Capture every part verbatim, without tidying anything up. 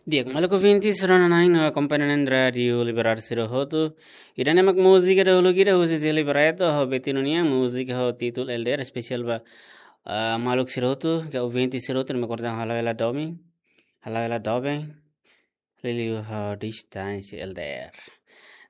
Di'ak, maluk ouvinte sira-ne'e no akompañante Rádiu Libertadora sira hotu. Ida-ne'e mak múzika dahuluk ida husi Zé Libreto, ho Betinho nian, múzika ho títulu Elder, espesiál ba, ah, maluk sira hotu, ka ouvinte sira hotu, ne'ebé kordang halo hela domin, halo hela doben, liuliu ho distánsia Elder.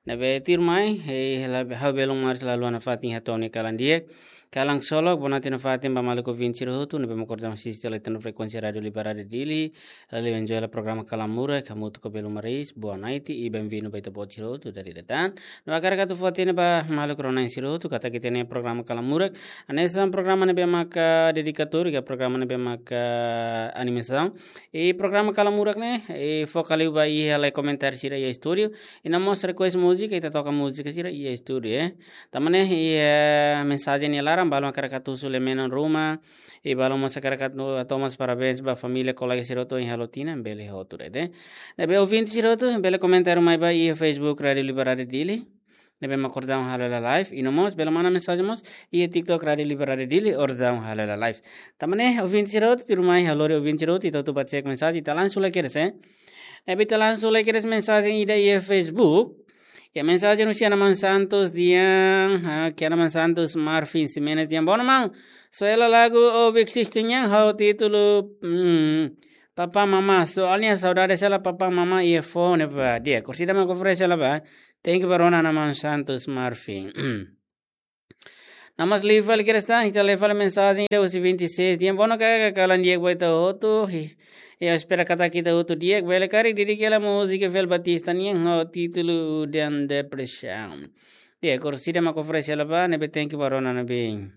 Ne'ebé tuirmai, eh, hela, ha'u belun Mars lalu ana fatin hato'o nia kalan di'ak. Kalan ksolok, bonatin nafatin ba maluk ouvinte sira hotu, ne'ebé mak kordang asiste liután frekuénsia Rádiu Libertadora Dili, liuliu enjoy hela programa Kalan Murak, hamutuk ho belun Maris, boa noite, i bem-vindo ba ita-boot sira hotu, dala ida tan. No hakarak atu fó-hatene ba maluk rona-na'in sira hotu, katak ita-nia programa Kalan Murak, hanesan programa ne'ebé maka dedikatóriu, ka programa ne'ebé maka animasaun, i programa Kalan Murak ne'e, i foka liu ba iha lai komentáriu sira iha estúdiu, i no mós request múzika, ita toka múzika sira iha estúdiu, eh. Tanba ne'e, iha mensajen nia laran, balu hakarak atu husu lia-menon ruma, i balu mós hakarak atu, atu hato'o mós parabéns ba família, kolega sira hotu ohin halo tinan, bele hotu de'it, eh. Ne'ebé ouvinte sira hotu, bele komentáriu mai ba iha Facebook Rádiu Libertadora Dili, ne'ebé mak kordang halo hela live, i no mós, bele manda mensajen mós, iha TikTok Rádiu Libertadora Dili, kordang halo hela live. Tanba ne'e, ouvinte sira hotu, tuirmai halo ouvinte sira hotu, ita hotu ba cek mensajen, ita langsung lai kedas, eh. Ne'ebé ita langsung lai kedas mensajen ida iha Facebook. Iha mensajen husi Anaman Santos dehan, ah, ke Anaman Santos Marvin Ximenes dehan, bono maun. Só hela lagu Obiek Sistu nian ho títulu, hmm, Papá Mamá. Soalnya saudade hela Papá Mamá iha fone ba. Di'ak, orsida mak oferese hela ba. Thank you ba rona Anaman Santos Marvin. No mós liu fali kedas tan, ita lee fali mensajen ida husi vinte e seis dehan, bono kaka, kalan di'ak ba ita hotu, i, i espera katak ita hotu di'ak, bele karik dedika hela múzika Fel Batista nian ho títulu Udan Depresaun. Di'ak, orsida mak oferese hela ba, ne'ebé thank you ba rona ne'ebé.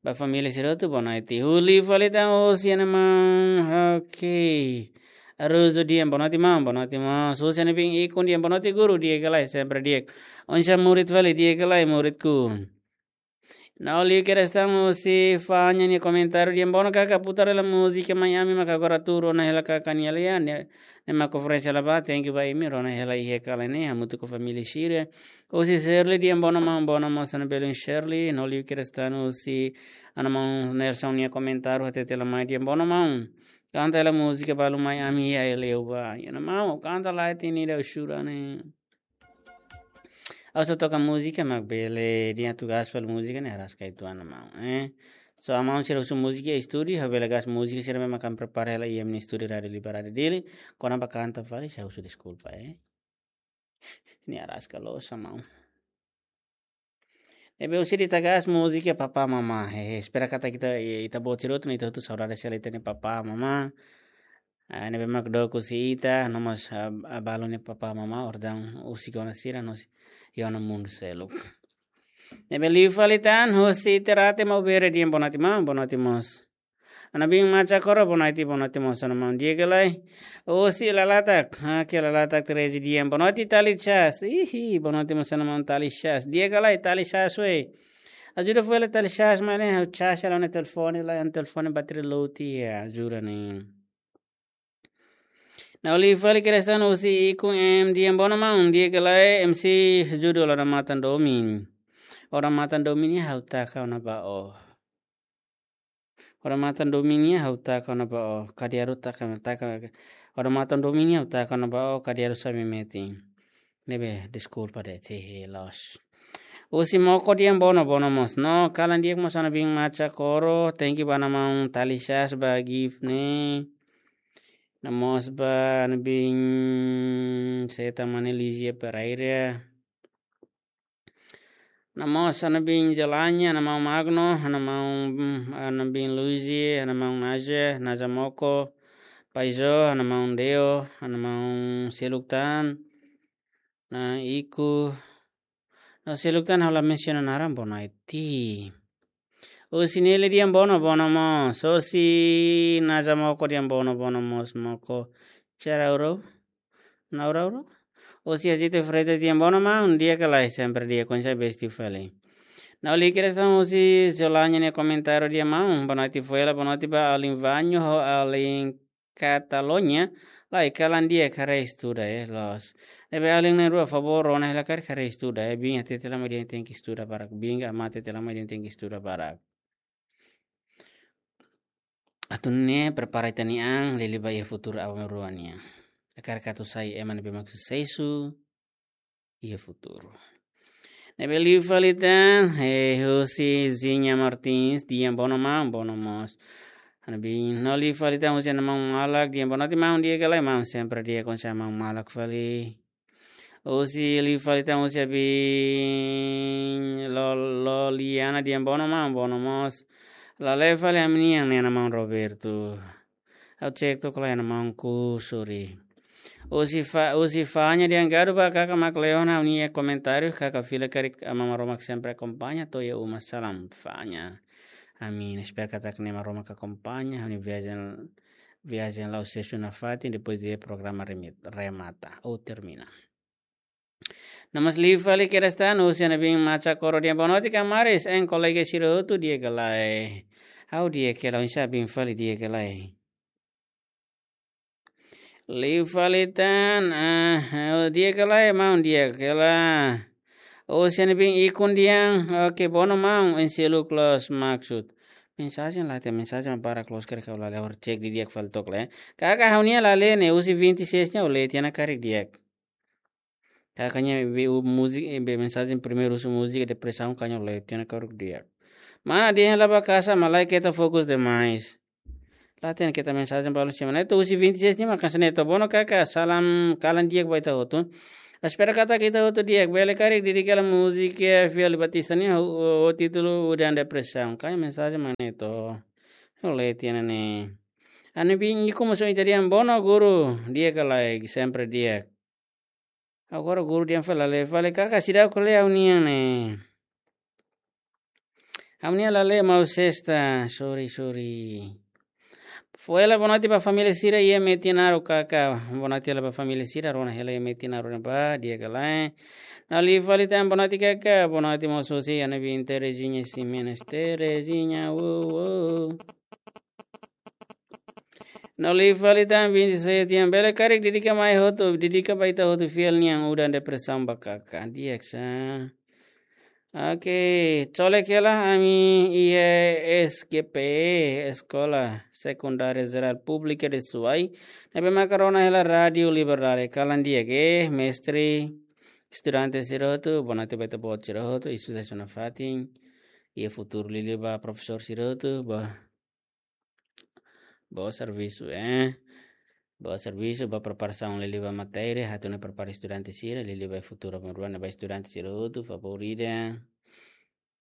Ba família sira hotu, boa noite. Liu fali tan husi Anaman, ok. Aruzu dehan, boa noite maun, boa noite maun. Husi Anaman Ikun dehan, boa noite guru, di'ak ka lae, sempre di'ak. Oinsá murid fali, di'ak ka lae, muridku. No liu kedas tan husi Fanya nia komentáriu dehan, bono kaka, putar hela múzika Mai Ami maka agora tuur, rona hela kaka nia lia, ne'e, ne'e mak oferese hela ba, thank you ba imi, rona hela iha kalan ne'e, hamutuk ho família sira. Husi Shirley dehan, bono maun, bono maun, sá-na'in belun Shirley, no liu kedas tan husi Anaman Nelson nia komentáriu hatete hela mai dehan, bono maun. Kanta hela múzika balu Mai Ami iha Eleu ba. Iha Anaman, kanta lai tini da usura ne'e. Ha'u só toka múzika, mak bele dehan atu gas fali múzika ne'e araska uitoan Anaman, eh. Só Anaman sira husu múzika iha estúdiu, ha'u bele gas múzika sira ne'ebé mak ami prepara hela iha ami-nia estúdiu Rádiu Libertadora Dili. Kona-ba kanta fali, sá husu deskulpa, eh. Ne'e araska loos Anaman. Ne'ebé orsida ita gas múzika Papá Mamá. Hehe, espera katak ita, ita-boot sira hotu, ita hotu saudade hela ita-nia Papá Mamá. Ah, ne'ebé mak dook husi ita, no mós, ah, ah, balu nia Papá Mamá, kordang husik ona sira, no husi, iha ona mundu seluk. Ne'ebé liu fali tan, husi Terate Maubere dehan, boa noite maun, boa noite mós. Ana Bin Macha Koro, boa noite, boa noite mós Anaman, di'ak ka lae. Husi Lalatak, ah, ke Lalatak Terezi dehan, boa noite Tali Chas. Ihi, boa noite mós Anaman Tali Chas. Di'ak ka lae, Tali Chas we. Ajuda fó hela Tali Chas, maun, ne'e, ha'u charge hela ona telefone, la, telefone bateria low tiha, ajuda ne'e. No liu fali kedas tan husi Ikun M dehan, bono maun, di'ak ka lae, M C Judul, odamatan domin. Odamatan domin ne'e ha'u taka ona ba ó. Odamatan domin ne'e ha'u taka ona ba ó, kadiaru taka, taka. Odamatan domin ne'e ha'u taka ona ba ó, kadiaru sá-imi metin. Ne'ebé, deskulpa de'it, hehe, loos. Husi Moko dehan, bono, bono mós. No, kalan di'ak mós Ana Bin Macha Koro, thank you ba Anaman Tali Chas ba gift ne'e. No mós ba Ana Bin Seta Mane Lizia Pereira. No mós Ana Bin Jelanya, Ana Maun Magno, Ana Maun, Ana Bin Luizi, Ana Maun Naja, Naja Moko, Paizo, Ana Maun Deo, Ana Maun seluk tan, Na'i Iku, no seluk tan ha'u la mensiona naran, bono ai ti. Husi Nele dehan bono, bono mós. Husi Naja Moko dehan bono, bono mós Moko. Cara uro. Naura uro. Husi Azite Freitas dehan bono maun, di'ak ka lae, sempre di'ak, oinsá besti fali. No liu kedas tan husi Zolanya nia komentáriu dehan maun, boa noite Fuela, boa noite ba alin Vanho ho alin Katalonia, lae, kalan di'ak, haree estuda, eh, loos. Ne'ebé alin na'in-rua favór rona hela karik haree estuda, eh, biin hatete lai mai dehan tenke estuda barak, biin ka amá hatete lai mai dehan tenke estuda barak. Atu nune'e prepara ita-nia an, liuliu ba iha futuru aban-bainrua nian. Hakarak atu sai ema ne'ebé mak susesu iha futuru. Ne'ebé liu fali tan, eh, husi Zinha Martins, di'ak, bono maun, bono mós. Ha'u-nia biin, no liu fali tan husi ha'u-nia maun malak, di'ak, bonoite maun, di'ak ka lae maun, sempre di'ak, konsa maun malak fali. Husi liu fali tan husi ha'u-nia biin Lo-, Loliana, di'ak, bono maun, bono mós. Lale'e fali ami-nian ne'e ha'u-nia maun Roberto. Ha'u cek tok ha'u-nia maun Kusuri. Husi Fa-, husi Fanya, di'ak, gadu ba kaka mak leona ha'u-nia komentáriu, kaka fila karik Aman Maromak sempre akompaña, to'o iha uma salam Fanya. Ami espera katak ne'e Maromak akompaña, ami viajen, viajen la'o sesu nafatin, depois de programa remit-, remata, ou termina. No mós liu fali kedas tan, husi ha'u-nia biin Macha Koro, di'ak, bonoite kamaris, en kolega sira hotu, di'ak ka lae. Ha'u di'ak hela, oinsá biin fali, di'ak ka lae. Liu fali tan, ah, ha'u di'ak ka lae maun, di'ak hela. Husi ha'u-nia biin Ikun, di'ak, oke, bono maun, en selu close maksud. Mensajen la hatene, mensajen barak loos karik ha'u lale'e, ha'u cek didi'ak fali tok lae. Kaka ha'u-nian lale'e ne'e, husi vinte e seis nian ha'u lee tiha ona karik di'ak. Kaka nia be u-, múzika, eh, be mensajen primeiru husi múzika depresaun, kaka nia lee tiha ona karik di'ak. Mana dehan la ba kasa, malae keta fokus demais. La hatene keta mensajen balu semana. Entaun husi vinte e seis nian mak hanesan ne'e to, bono kaka, salam kalan di'ak ba ita hotu. Espera katak ita hotu di'ak, bele karik dedika hela múzika Fiel Batista nian ho, ho, ho títulu Udan Depresaun. Kaka nia mensajen mak ne'e to. Ha'u lee tiha ona ne'e. Ha'u-nia biin Ikun mós ohin ita dehan, bono guru, di'ak ka lae, sempre di'ak. Agora guru dehan fali lale'e, fali kaka seidauk lee ha'u-nian ne'e. Ha'u-nian lale'e maun Sesta, sorry, sorry. Fó hela bonoite ba família sira iha Metinaro kaka, bonoite hela ba família sira, rona hela iha Metinaro ne'ebá, di'ak ka lae. No liu fali tan bonoite kaka, bonoite mós husi ha'u-nia biin Terezinha Ximenes, Terezinha, uou, uou. No liu fali tan vinte e seis nian, bele karik dedika mai hotu, dedika ba ita hotu Fiel nian Udan Depresaun ba kaka, di'ak sa. Oke, colek hela ami iha S G P, Escola Secundária Geral Pública de Suai, ne'ebé maka rona hela Rádiu Liberdade, kalan di'ak, mestre, estudante sira hotu, bonoite ba ita-boot sira hotu, i susesu nafatin, iha futuru, liuliu ba profesór sira hotu, ba boa servisu, eh. Boa servisu, boa preparasaun liuliu ba matéria, atu nune'e prepara estudante sira, liuliu ba futuru, aban-bainrua ne'e ba estudante sira hotu, favór ida.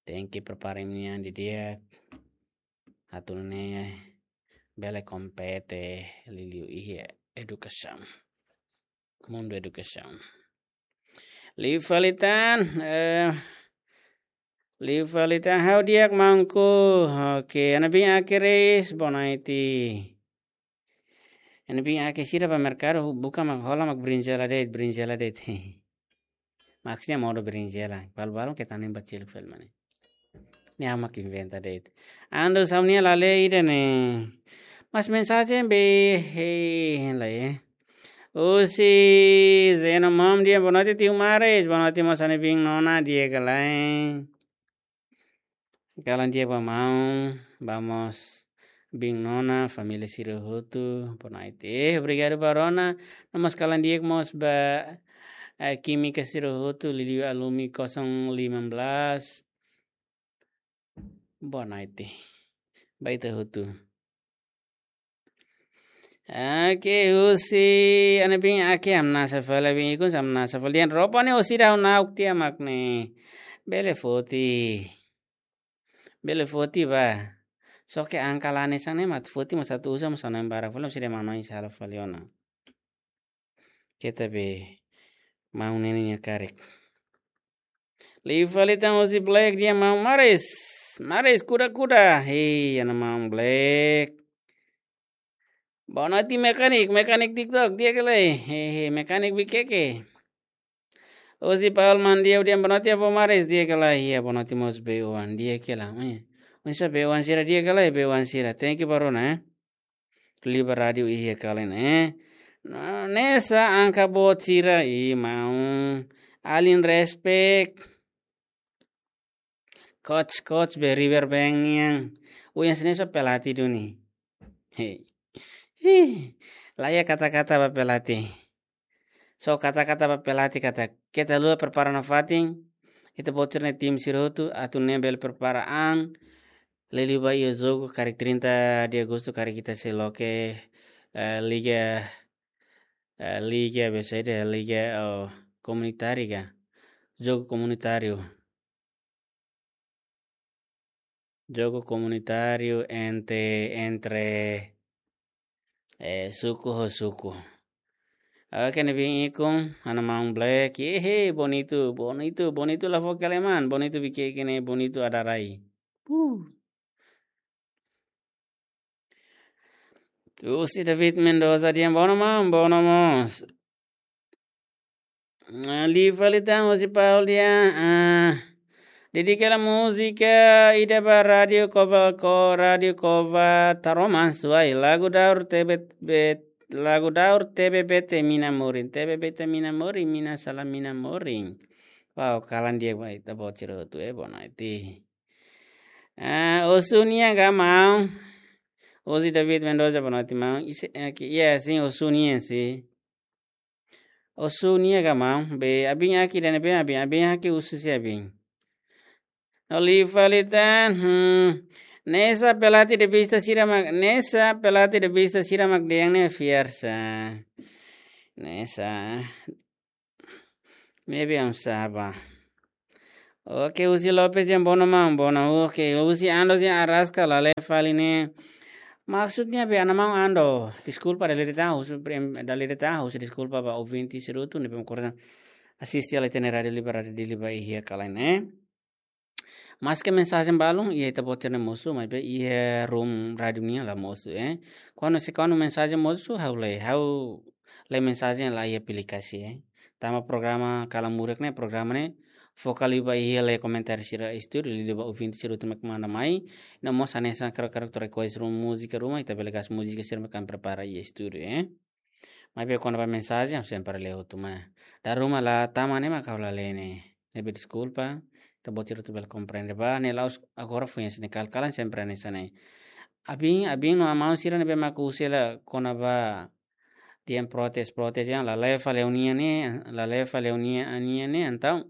Tenke prepara imi-nia an didi'ak. Atu nune'e bele kompete liuliu iha edukasaun. Mundu edukasaun. Liu fali tan, eh, liu fali tan ha'u di'ak maunku. Oke, ha'u-nia biin Ake Reis, bonoite. Ha'u-nia biin Ake sira ba merkadu, buka mak hola mak brinjela de'it, brinjela de'it. Maksudnya modo brinjela, balu-balu ke tanim bacil fel mane. Ne'e ha'u mak inventa de'it. Ando ha'u-nian lale'e ida ne'e. Mas mensajen be, hei, lae. Husi Zeno Mom di'ak, bonoite tiu Maris, bonoite mós ha'u-nia biin Nona di'ak ka lae. Kalan di'ak ba maun, ba mós biin Nona, família sira hotu, bonoite. Eh, obrigadu ba rona, no mós kalan di'ak mós ba, eh, kímika sira hotu, liuliu alumni kosong lima belas. Bonoite. Ba ita hotu. Oke, husi ha'u-nia biin Ake, hamnasa fali, biin Ikun, hamnasa fali. Dehan roupa ne'e orsida ha'u na'ok tiha mak ne'e. Bele foti. Bele foti ba. Só ke angka la hanesan ne'e mak foti mós atu uza mós hanoin barak fali, orsida manoin sala fali ona. Keta be maun ne'e nia karik. Liu fali tan husi Black di'ak maun Maris. Maris kuda-kuda. Hei, ha'u-nia maun Black. Bonoite mekanik, mekanik TikTok, di'ak ka lae. Hei, hei, mekanik Bikeke. Husi Paul Mandiau di'ak, bonoite avó Maris, di'ak ka lae. Iya, bonoite mós be oan, di'ak ka lae. Oinsá be oan sira, di'ak ka lae, be oan sira. Thank you ba rona, eh. Liuliu ba rádiu iha kalan, eh. No, hanesan angka boot sira, i maun. Alin respect. Coach, coach be River Bank nian. Uyan sini so pelatih duni. Hei. Ih, la iha kata-kata ba pelatih. Só kata-kata ba pelatih katak keta haluha prepara nafatin. Ita-boot sira-nia tim sira hotu atu nune'e bele prepara an. Liuliu ba iha jogu karik trinta de Agostu karik ita sei loke, eh, liga, eh, liga, biasa ida liga, oh, komunitáriu ka? Jogu komunitáriu. Jogu komunitáriu entre, entre, eh, suku ho suku. Oke, ne'ebé ikun, ha'u-nia maun Black, ehe, Bonitu, Bonitu, Bonitu la fó kaleman, Bonitu bikin ne'e, Bonitu adarai. Uh. Husi David Mendoza dehan, bono maun, bono mós. Ah, liu fali tan husi Paul dehan, ah, dedika hela múzika ida ba Rádiu Cova, ko Rádiu Cova Taroman, Suai, lagu daur T B B, lagu daur T B B T mina morin, T B B T mina morin, mina sala mina morin. Wow, kalan di'ak ba ita-boot sira hotu, eh, boa noite. Ah, osu nian ka maun? Husi David Mendoza, boa noite maun. Ise, eh, ki, ya, sin, osu nian sin. Osu nian ka maun? Be, abin aki dan be, abin, abin aki husi se abin. Liu fali tan, hmm. Nesa pelatih de vista sira mak, nesa pelatih de vista sira mak dehan ne'e fiar sa. Nesa. Maybe I'm saba. Oke, husi Lopes dehan bono maun, bono. Oke, husi Ando dehan araska la lee fali ne'e. Maksudnya be ha'u-nia maun Ando. Deskulpa dala ida tan, husu prim-, dala ida tan, husu deskulpa ba ouvinte sira hotu ne'ebé mak oras ne'e asiste hela ita-nia Rádiu Liba, Rádiu Dili ba iha kalan ne'e. Maske mensajen balun iha ita-boot sira-nia mosu, maibé iha room rádiu nian la mosu, eh. Kuandu se kuandu mensajen mosu, ha'u lee, ha'u lee mensajen la iha aplikasi, eh. Tanba programa Kalan Murak ne'e, programa ne'e foka liu ba iha lee komentáriu sira estúdiu, liuliu ba ouvinte sira hotu mak manda mai. No mós hanesan karik-karik atu request ruma múzika ruma, ita bele gasta múzika sira mak ami prepara iha estúdiu, eh. Maibé kuandu ba mensajen, sempre lee hotu mai. Dala ruma la tama ne'e mak ha'u la lee ne'e. Ne'ebé deskulpa, ita-boot sira hotu bele komprende ba, ne'e la'ós agora foin hanesan ne'e, kal-kalan sempre hanesan ne'e. Abin, abin no maun sira ne'ebé mak husu hela kona-ba dehan protes, protes dehan la lee fali ha'u-nian ne'e, la lee fali ha'u-nian, ha'u-nian ne'e, entaun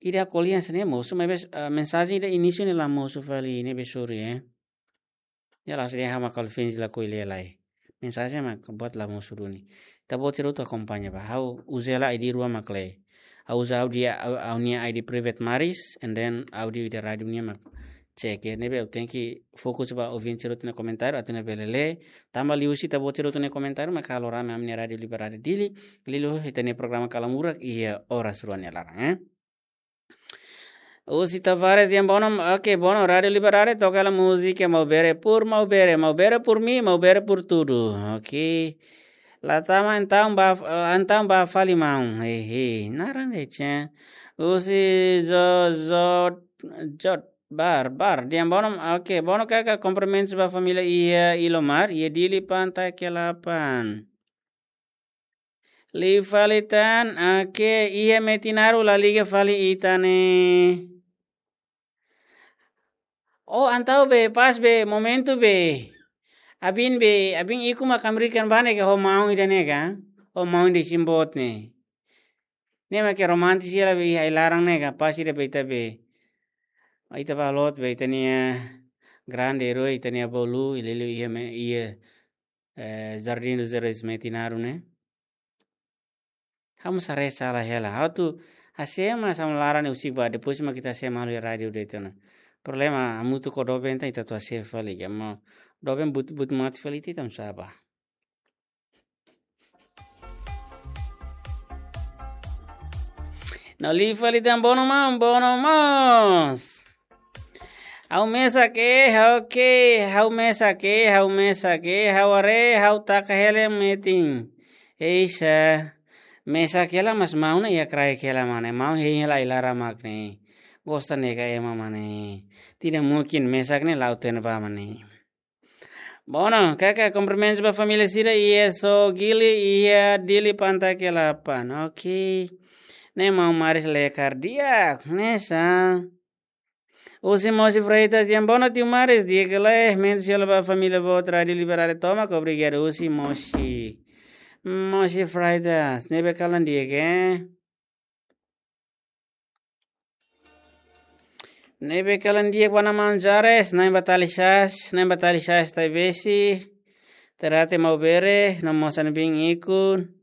ida ko'alia hanesan ne'e mosu, maibé, ah, mensajen ida inísiu ne'e la mosu fali, ne'ebé sorry, eh. Ya la, se dehan ha'u mak Calvin la ko'alia lai. Mensajen mak buat la mosu duni. Ita-boot sira hotu akompaña ba. Ha'u uza hela I D rua mak lee. Ha'u uza ha'u-nia, ha'u, ha'u-nia I D private Maris, and then ha'u-nia I D rádiu nian mak check, eh. Ne'ebé ha'u tenke fokus ba ouvinte sira hotu-nia komentáriu, atu nune'e bele lee. Tanba liuhusi ita-boot sira hotu-nia komentáriu mak halo rame ami-nia Rádiu Liba, Rádiu Dili. Liuliu ita-nia programa Kalan Murak iha oras rua nia laran, eh. Husi Tavares dehan bono, oke, bono, Rádiu Liba Rádiu, toka hela múzika Maubere por Maubere, Maubere por mim, Maubere por tudo, oke. La tama entaun ba, eh, entaun ba fali maun, hehe, naran de cen. Husi Jo, Jo, Jo, Bar, Bar, dehan bono, oke, bono kaka, kumprimentus ba família iha Ilomar, iha Dili Pantai Kelapan. Liu fali tan, oke, iha Metinaro la liga fali ita ne'e. Oh, entaun be, pas be, momentu be. Abin be, abin ikun mak Amerikan ba ne'e ka, ho maun ida ne'e ka? Ho maun ida isin-boot ne'e. Ne'e mak ke romantis hela be iha ai-laran ne'e ka, pas ida be ita be. Ita ba loot be ita-nia grande herói, ita-nia bolu, liuliu iha me, iha eh, Jardim dos Heróis Metinaro ne'e. Ha'u mós haree sala hela. Ha'u atu hase'e mak sama laran ne'e husik ba, depois mak ita hase'e malu iha rádiu de'it ona. Problema hamutuk ho doben tan ita atu hase'e fali, ya mo doben buat, buat mate fali ita, ita mós saba. No liu fali tan bono maun, bono mós. Ha'u mesak, eh, oke, ha'u mesak, eh, ha'u mesak, eh, ha'u haree, ha'u taka hela metin. Eisa, mesak hela mas maun ne'e iha kraik hela mane, maun hein hela ai-laran mak ne'e. Gosta ne'e ka ema mane. Tidak mungkin mesak ne'e la'o tene ba mane. Bono, kaka, kumprimentus ba família sira iha Sogili, iha Dili Pantai Kelapan. Oke. Ne'e maun Maris lekar di'ak, ne'e sa. Husi Mosi Freitas, di'ak, boa noite, Maris, di'ak ka lae, mentu sira ba família boot Rádiu Liberdade tomak, obrigadu husi Mosi. Mosi Freitas, ne'ebé kalan di'ak, eh? Ne'ebé kalan di'ak ba Ana Maun Jares, Na'in Batalisas, Na'in Batalisas Taibesi, Terate Maubere, no mós Ana Bin Ikun,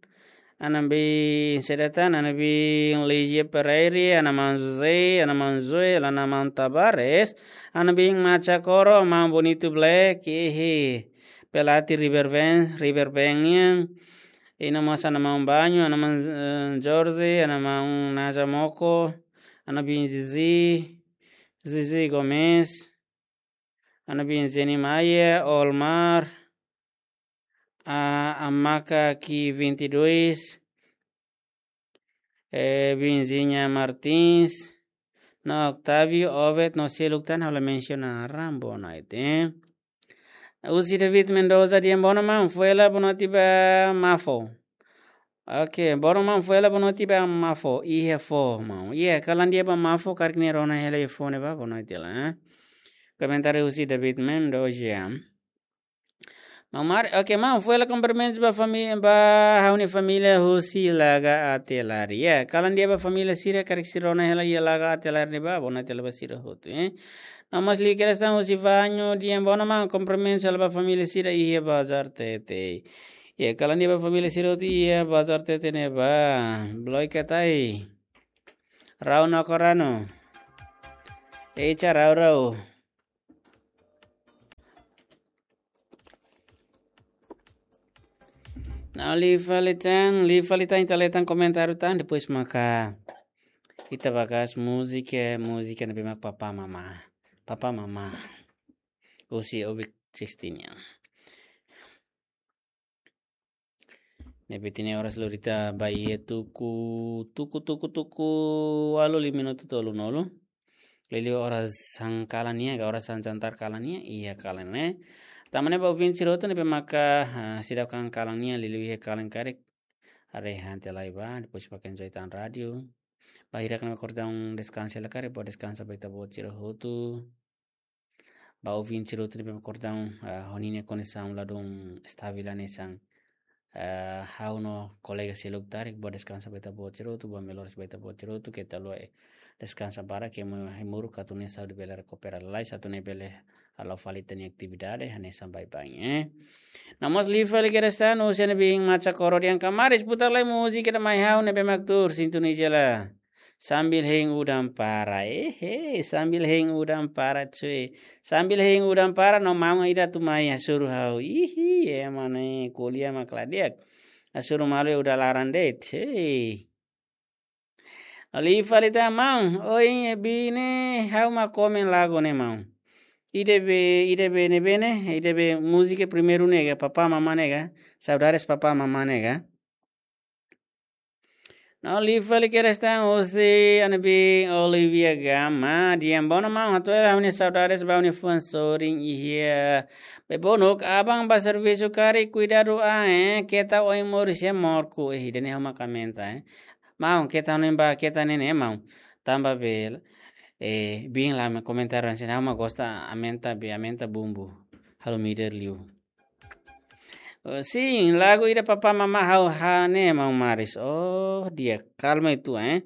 Ana Bin Sedatan, Ana Bin Ligia Pereira, Ana Maun José, Ana Maun Joel, Ana Maun Tabares, Ana Bin Macha Koro, Maun Bonito Black, ihi, Pelati River Bank, River Bank nian, i no mós Ana Maun Banho, Ana Maun, eh, Jorge, Ana Maun Naja Moko, Ana Bin Zizi, Zizi Gomes, Ana Bin Zeni Maia, Olmar, a, Amaka Ki vinte e dois, eh, Binzinha Martins, no Octavio Obed, no seluk tan ha'u la mensiona naran, boa noite, eh. Husi David Mendoza, di'ak, boa noite maun, foin hela boa noite ba Mafo. Ok, boa noite maun, foin hela boa noite ba Mafo, iha fó, maun. Iha, kalan di'ak ba Mafo, karik nia rona hela iha fó ne'ebá, boa noite hela, eh. Komentáriu husi David Mendoza. Maun Maris, ok, maun, foin hela kumprimentus ba famí-, ba ha'u-nia família husi Laga Atelari. Ya, kalan di'ak ba família sira, karik sira rona hela iha Laga Atelari ne'ebá, boa noite hela ba sira hotu, eh. No mós liu kedas tan husi Vanho, di'ak, boa noite maun, kumprimentus hela ba família sira iha Bazar Tete. Ya, kalan di'ak ba família sira hotu iha Bazar Tete ne'ebá. Bloika Tai. Rau no Korano. Echa Rau Rau. Nah, liu fali tan, liu fali tan, ita lee tan komentáriu tan, depois maka ita bá kaer múzika, múzika ne'ebé mak Papá Mamá. Papá Mamá. Husi Obic Sixteen ya. Ne'ebé tiha ne'e oras lori ita bá iha tuku, tuku, tuku, tuku, ualu lima minutu tolunulu. Liuliu oras han kalan nian, ka oras han jantar kalan nian, iha kalan ne'e. Tanba ne'e ba ouvinte sira hotu ne'ebé maka, ah, seidauk han kalan nian, liuliu iha kalan karik. Haree han tiha lai bá, depois bá enjoy tan rádiu. Bainhira ne'e kordang deskansa hela karik, bá deskansa ba ita-boot sira hotu. Ba ouvinte sira hotu ne'ebé kordang, ah, ho ninia kondisaun ladún estavel hanesan, ah, ha'u no kolega seluk karik, bá deskansa ba ita-boot sira hotu, bá melhoras ba ita-boot sira hotu, keta haluha, eh, deskansa barak, ke mo hemuru atu nune'e saúde bele rekupera lalais, atu nune'e bele hala'o fali ita-nia atividade hanesan baibain, eh. No mós liu fali kedas tan, husi Ana Bin Macha Koro, di'ak, ka Maris putar lai múzika ida mai ha'u ne'ebé mak tuur, sintoniza hela. Sambil hein udan para. Eh, eh, sambil hein udan para, cuy. Sambil hein udan para, no maun ida atu mai hasoru ha'u. Ihi, ema ne'e ko'alia mak la di'ak. Hasoru malu udan laran de'it. Hei. Liu fali tan maun. Oi, bine, ha'u mak komen lagu ne'e maun. Ida be, ida be ne'ebé ne'e, ida be múzika primeiru ne'e ka, Papá Mamá ne'e ka. Saudades Papá Mamá ne'e ka. No liu fali kedas tan husi Ana Bin Olivia Gama, di'ak, boa noite maun, hato'o hela ha'u-nia saudades ba ha'u-nia fuan sorin iha Bebonuk, aban bá servisu karik kuidadu an, eh, keta oin moris iha morku, eh, ida-ne'e ha'u mak aumenta, eh. Maun, keta hanoin ba keta ne'e ne'e maun. Tanba be, eh, bin la me komentáriu hanesan ne'e, ha'u mak gosta aumenta be, aumenta bumbu. Halo mider liu. Oh, sin, lagu ida Papá Mamá ha'u hanesan ne'e maun Maris. Oh, di'ak, kalma uitoan, eh.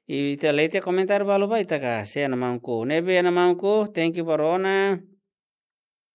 Ita lee tiha komentáriu balu bá, ita ka, sé Ana Maun Ko. Ne'ebé Ana Maun Ko, thank you ba rona.